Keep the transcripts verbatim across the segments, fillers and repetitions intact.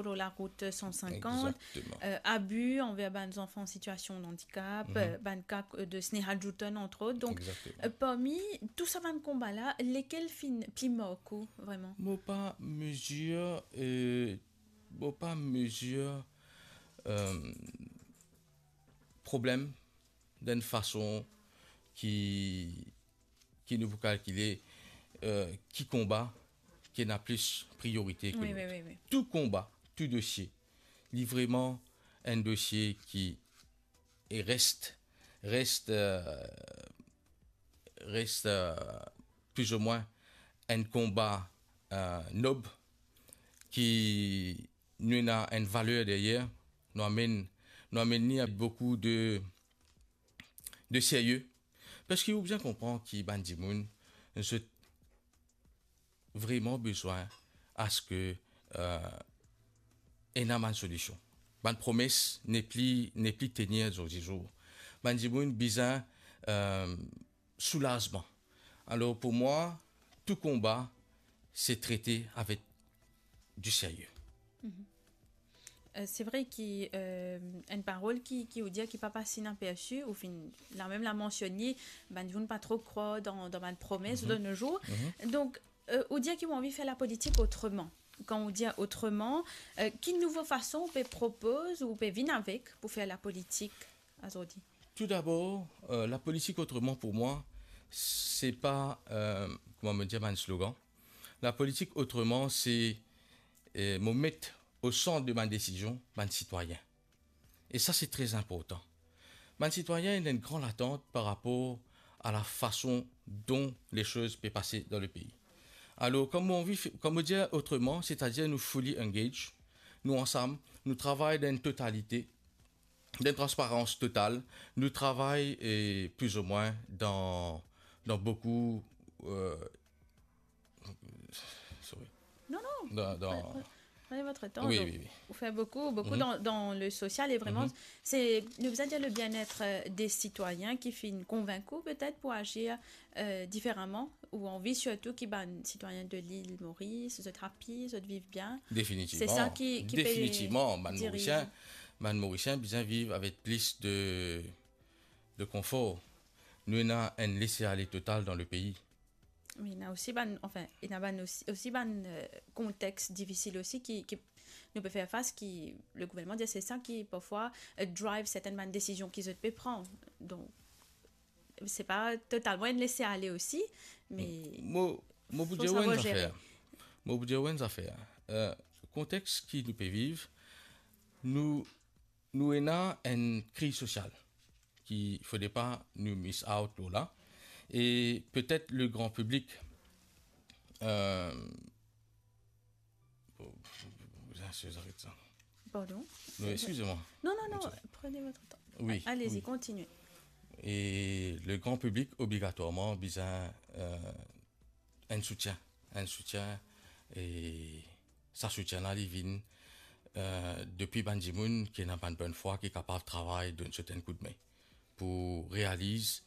lor larout san sinkant, Exactement. euh, abi anver bann zanfan an sitiasion de andikap, Mhm. euh, bann ka, euh, de Sneha Djoutone, entre autres. Donc, Exactement. euh, parmi tou sa bann konba la, lekel finn pli mark ou, vreman? Mo pa mezir, euh, mo pa mezir, euh, problem dan enn fason ki, ki nou pou kalkile, euh, ki konba ki ena plis priorite ki Wi, lot. wi, wi, wi. Tou konba, tou dosie, li vreman enn dosie ki, e res, res, euh, res, euh, pli ou mwin enn konba, euh, nob, ki nou ena enn valer deryer, nou amenn, nou amenn li avek boukou de, de serye. Parski ou bizin konpran ki bann dimoun, zot vreman bizin aske, euh, ena bann solision. Bann promes nepli, nepli tenir zordi zour. Bann dimoun bizin, euh, soulazman. Alor, pou mwa, tou konba, se trete avek di serye. Mhm. Euh, se vre ki, euh, enn parol ki, ki ou dir ki pa pas inapersi, ou finn, la mem la mansionn li, bann dimoun pa tro krwar dan, dan bann promes Mhm. de nos jours. Mhm. Donk, euh, ou dir ki ou anvi fer lapolitik otreman. Kan ou dir otreman, euh, ki nouvo fason ou pe propoz, ou pe vinn avek pou fer lapolitik azordi? Tou dabor, euh, lapolitik otreman pou mwa, se pa, euh, kouma mo dir, bann slogan. Lapolitik otreman, se, euh, mo met o sant de bann desizion bann sitwayin. E sa, se tre inportan. Bann sitwayin ena enn gran latant par rapor a lafason don lesoz pe pase dan lepei. Alor, kouma mo anvi f-, kouma mo dir otreman, setadir nou fully engage, nou ansam, nou travay dan enn totalite, dan enn transparans total, nou travay, e, pli ou mwin dan, dan boukou, euh, sorry. Non, non. Dan, dan Prenez, prenez votre temps. Wi, donc, wi, wi. Ou fer boukou, boukou Mhm. dan, dan le sosial e vreman, Mhm. se, nou bizin dir le bien-être, euh, de sitwayin ki finn konvink ou petet pou azir, euh, diferaman, ou anvi sirtou ki bann sitwayin de lil Moris, zot happy, zot viv bien. Definitivman. Se sa ki, ki pe Definitivman, bann diriz. Morisien, bann Morisien bizin viv avek plis de, de konfor. Nou ena enn lese-ale total dan lepei. Me ena osi bann, anfin, ena bann osi, osi bann, euh, kontex difisil osi ki, ki nou pe fer fas, ki le gouvernman dir se sa ki parfwa, euh, drive sertenn bann desizion ki zot pe pran. Donk, se pa totalman enn lese-ale osi, me Mo, mo pou fo dir ou enn savwar zafer. zere. Mo pou dir ou enn zafer. Euh, kontex ki nou pe viv, nou, nou ena enn kriz sosial ki fode pa nou miss out lor la. E petet le gran piblik, euh, oh, je vais arrêter ça. Pardon? Non, excusez-moi. Non, non, non, Excusez. prenez votre temps. Oui, Allez-y, oui. continuez. E le gran piblik obligatwarman bizin, euh, enn soutien, enn soutien, e sa soutien la, li vinn, euh, depi bann dimoun ki ena bann bonn fwa, ki kapav travay, donn zot enn koudme pou realiz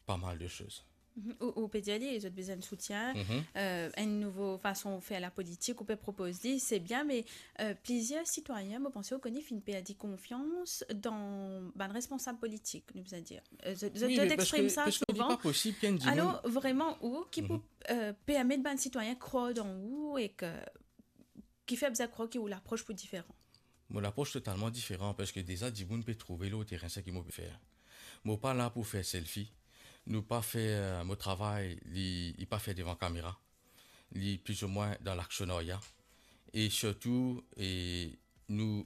pa mal de soz. Mhm. Ou, ou pe dir li, zot bizin soutien, Mhm. euh, enn nouvo fason fer lapolitik, ou pe propoz li, se bien, me, euh, plizier sitwayin, mo panse ou kone, finn perdi konfians dan bann responsab politik, nou bizin dir. Euh, zot, zot, Wi, zot me parski, exprim sa parski li souvan. pa posib ki enn dimoun Alor, vreman, ou ki pou, Mhm. euh, permet bann sitwayin krwar dan ou e ke, ki fer bizin krwar ki ou lapros pou diferan? Mo lapros totalman diferan, parski deza dimoun pe trouve lor terin seki mo pe fer. Mo pa la pou fer selfie. Nou pa fer, mo travay, li, li pa fer devan kamera. Li pli ou mwin dan laksionarya. E sirtou, e nou,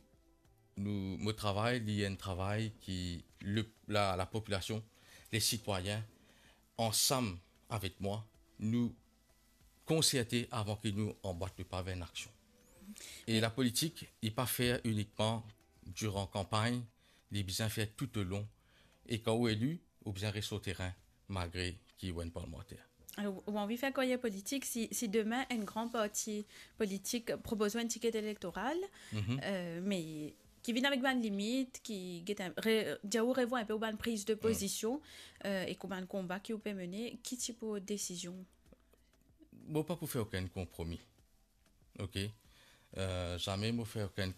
nou, mo travay, li enn travay ki le, la, lapopilasion, le sitwayin, ansam avek mwa, nou konserte avan ki nou anbwat lepa ver enn aksion. E lapolitik, li pa fer inikman diran kanpagn, li bizin fer toutolong. E kan ou eli, ou bizin res lor terin, malgre ki ou enn parlmanter. Alor, ou anvi fer karyer politik, si, si demin enn gran parti politik propoz ou enn tiket elektoral, Mhm. euh, me ki vinn avek bann limit, ki get enn, re-, dir ou revwar enpe ou bann priz de Mhm. pozision, euh, ek ou bann konba ki ou pe mene, ki tipe desizion? Mo pa pou fer okenn konpromi. Ok? Euh, zame mo fer okenn